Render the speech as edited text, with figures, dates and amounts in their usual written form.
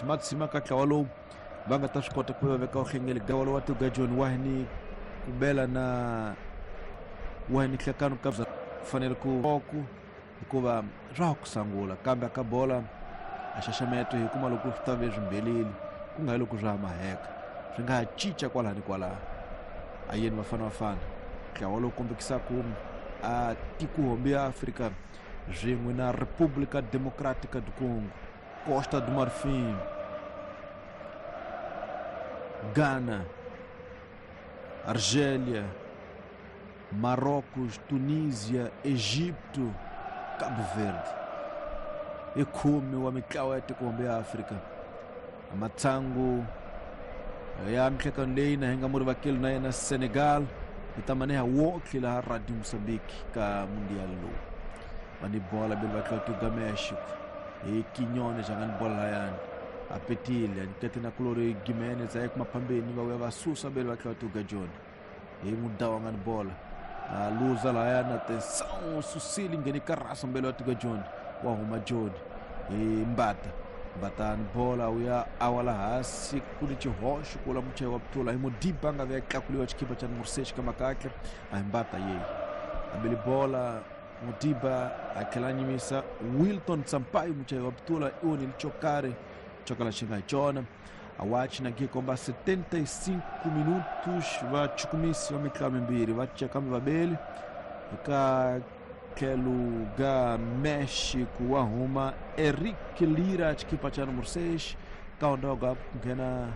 Matshima ka ntlawa lowu va nga ta swi kota ku va veka uhlengele gawalo wa tuga John wahini kubela na wahini hlekano ka fanele ku ku hikuva swa ha ku sangula kambe ka bola a xaxameto hi kuma loko swi ta ve swimbeleli ku nga hi loko swa ha maheka swi nga ha cinca kwalaha ni kwalaha. A yeni Bafana Bafana ntlawa lowu kombekisaka a tikuhombi ya Afrika swin'we na República Democrática do Congo, Costa do Marfim, Ghana, Argélia, Marrocos, Tunísia, Egipto, Cabo Verde. I khume wa mitlawa ya tikuhombe ya Afrika. Matsangu ya mihlekano leyi na hi nga muri vakeli na yena Senegal hi ta maneha wotlhe laha Radio Mozambique ka mundial lowu. Va ni bola beli va tlula México hi Quiñones a nga ni bola layani a petile a nyikete na kulori Gimenez a ya kuma phambeni va vuya va susa beli va tlula tuga John hi mudawu a nga ni bola a luza lahayani atenção susile ngheni ka rasa mbele wa tuga John wa huma John hi Mbata Mbata ni bola u ya awa la hansi ku ni xihoxo kula muchayi wa putula hi Modiba a nga ve tlakuliwa xikipa xa numero 6 ka makatle a hi Mbata yeyi a beli bola Modiba a tlhela a nyimisa Wilton Sampaio muchayi wa putula i onhile xo karhi xo kala xi nga hi xona. A wachi na komba 75 minutos va chukumisi va mitlawa mimbirhi va ceka vabeli eka tlhelo ga México wa huma Eric Lira xikipa xa numero 6 ka ondoga ku nghena